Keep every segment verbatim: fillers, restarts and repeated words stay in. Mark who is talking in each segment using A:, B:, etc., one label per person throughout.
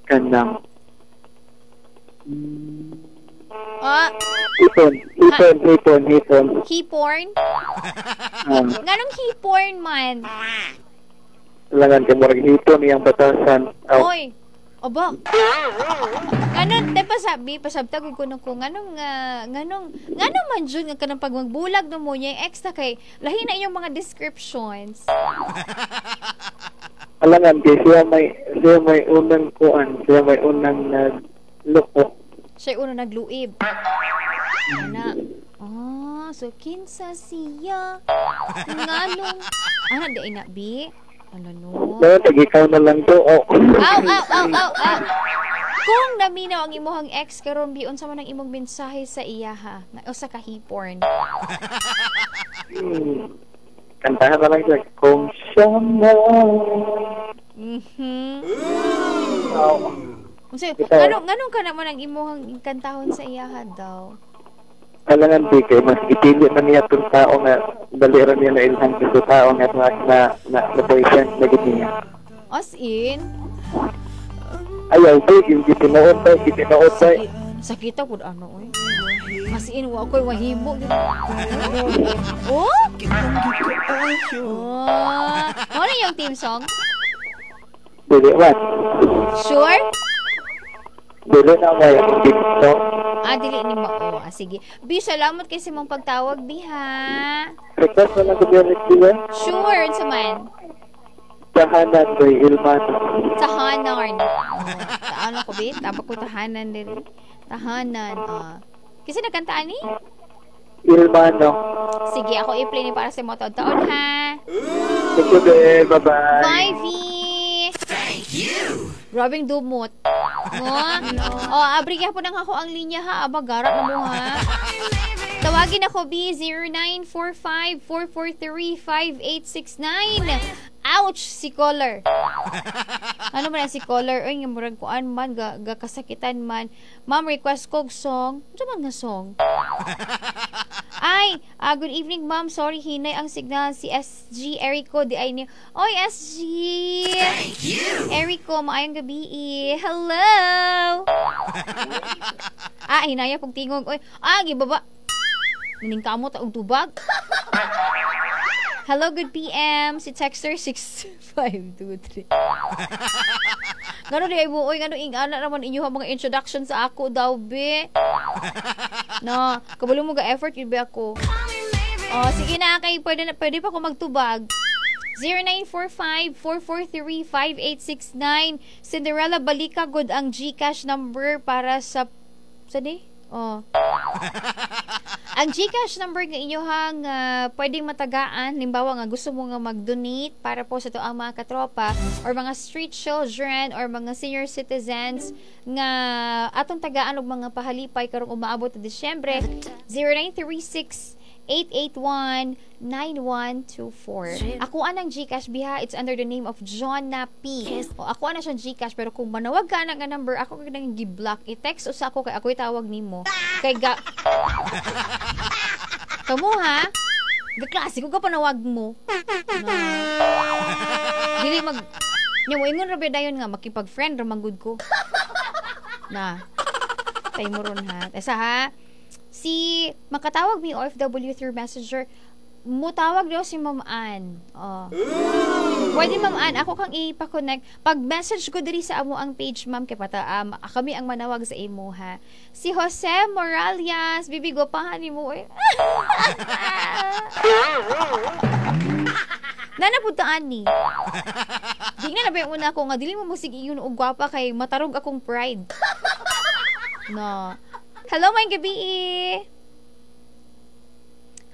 A: Kanang
B: Ah,
A: hipon, hipon, hipon, hipon.
B: Hiporn?
A: Ah,
B: Nganong hiporn man?
A: Langan kay murag hipon iyang batasan. Aw,
B: Oy. Aba. Nganong te pasabi, pasabta gud ko ko nganong uh, nganong nganong man jud nga kanang pag magbulag no mo niya ex na kay lahi na inyong mga descriptions.
A: Alangan kay siya may siya may unang kuan, siya may unang nagloko.
B: Siya una nagluib. Ana. Ah, so kinsa siya? Nganong ana di ay na bi? Ano no?
A: No, tag ikaw na lang to. Oh.
B: Aw, aw, aw, aw, aw. Kung naminaw ang imuhang ex karon bi, unsa man ang imong mensahe sa iya ha? O sa kahiporn.
A: Hmm. Kantahan na lang siya. Kung siya mo.
B: Mhm.
A: Aw.
B: Unsa
A: Ikaw.
B: nganong nganong ka naman ang imuhang kantahon sa iya ha daw?
A: Alangan di kay mas gipili man niya itong tao nga dali ra niya na ilhan sa tao nga na na na, na boyfriend na gid niya.
B: As in,
A: Ayaw di, yung gitinuod ba, gitinuod ba.
B: Sakita pud ano oy. As in wa ko'y mahimo. Oh? Oh. Mao na yung theme song?
A: Dili man.
B: Sure?
A: Dili na may dito.
B: Ah, dili ni mao. Ah, sige. Bi, salamat kay sa imong pagtawag, Bi, ha?
A: Request na lang ko biya siya.
B: Sure, unsa man?
A: Tahanan by Ilmano.
B: Tahanan. Oh, taano ko, Bi? Tabak ko tahanan diri. Tahanan. Ah. Kasi nagkantaan ni?
A: Ilmano.
B: Sige, ako i-play ni para sa mo taon-taon, ha?
A: Thank you, Bel. Bye-bye.
B: Bye, V! Thank you! Grabing dumot. Mo? Oh, abri gyapon ang ako ang linya ha. Aba, gara na mo ha. Tawagin ako, B, zero nine four five, four four three, five eight six nine. Ouch! Si caller. Ano man ang si caller? Uy, nga murag kuan man, ga, ga kasakitan man. Ma'am, request kog song. Ano man nga song? Ay, ah, good evening, ma'am. Sorry, hinay ang signal. Si S G Erico, di ay ni... Oy, S G! Thank you! Erico, maayong gabi. Hello! Ah, hinaya pong tingog. Oy, ah, gibaba. Naning kamo ta og tubag. Hello, good P M. Si Texter six five two three. Ngano di ay mo, oy, ngano ing-ana naman inyo mga introduction sa ako daw, be. No, kabalo mo ga effort yun be ako. Oh, sige na kay pwede na, pwede pa ko magtubag. zero nine four five, four four three, five eight six nine. Cinderella, balika good ang GCash number para sa sa di? Oh. Ang GCash number nga inyohang, uh, pwedeng matagaan, halimbawa nga gusto mo nga mag-donate para po sa to ang mga katropa or mga street children or mga senior citizens nga atong tagaan og mga pahalipay karong umaabot na Disyembre, zero nine three six, eight eight one, nine one two four. Ako anang GCash biha, it's under the name of Jonna P. O ako ana siyang GCash, pero kung manawag ka na nga number, ako kag nang gi-block, i-text usa ako kay ako'y tawag nimo. Kay ga Kamo ha? Gaklase ko ka panawag mo. Na. Dili mag nya mo ingon ra ba dayon nga makipag-friend ra man gud ko. Na. Tay mo ron ha. Esa ha. Si makatawag mi O F W through Messenger, mutawag daw si Ma'am Ann. Oh. Pwede Ma'am Ann, ako kang ipa-connect. Pag message ko diri sa amo ang page ma'am kay pata um, kami ang manawag sa imo ha. Si Jose Morales, bibi gopahan nimo eh. Nanapuntaan ni. Di nga na ba yung una ko nga dili mo musig iyon og gwapa kay matarog akong pride. No. Hello, may gabi.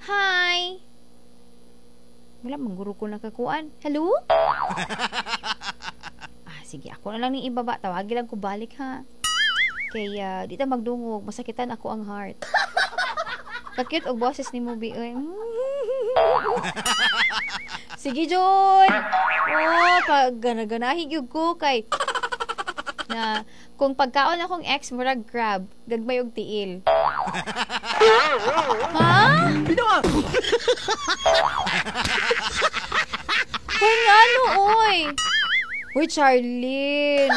B: Hi. Wala, mangguro ko nakakuan. Hello? Ah, sige, ako na lang ning ibaba. Tawagin lang ko balik, ha? Kaya, uh, di ta magdungog. Masakitan ako ang heart. Kakute og boses ni mo, bi. Sige, John! Oh, pag ganaganahi gyud ko kay na kung pagkaon akong ex, murag crab, gagmay og tiil. Ha? Kung ano, oy. Uy, Charlene.